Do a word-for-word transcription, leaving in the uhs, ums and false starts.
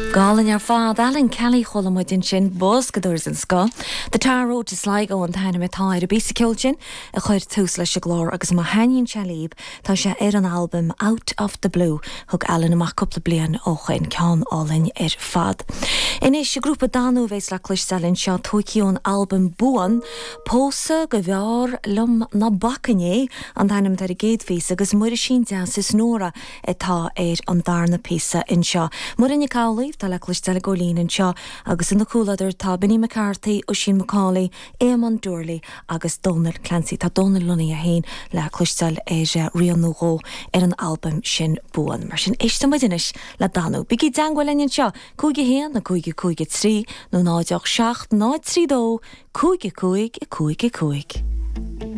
Go hálainn ar fad Alan Kelly chuala muid ansin boscadóir den scoth. The Tar Road to Sligo an t-ainm atá ar an bpíosa ceoil sin a chuir tús leis an gclár agus má thaitníonn sé libh tá sé ar an albam Out of the Blue thug Alan amach cúpla bliain ó shin ceann álainn ar fad. Anois grúpa Danú a bheas le cloisteáil anseo tógtha ón albam Buan, Pósadh go bhfearr liom ná bacfainn é an t-ainm ar an gcéad phíosa agus Muirisín Deas is Nóra atá ar an darna píosa anseo. Muireann Nic Amhlaoibh tá le cloisteáil ag gabháil fhoinn anseo agus ina comhluadar tá Benny McCarthy, Oisín McCauley, Éamon Doorley agus Donal Clancy tá Donal Lunny féin le cloisteáil ar rian nó dhó ar an albam sin Buan. Mar sin éistfidh muid anois le Danú. Bígí i dteagmháil linn anseo cúig a haon a cúig cúig trí nó náid seacht náid trí dó cúig cúig cúig cúig.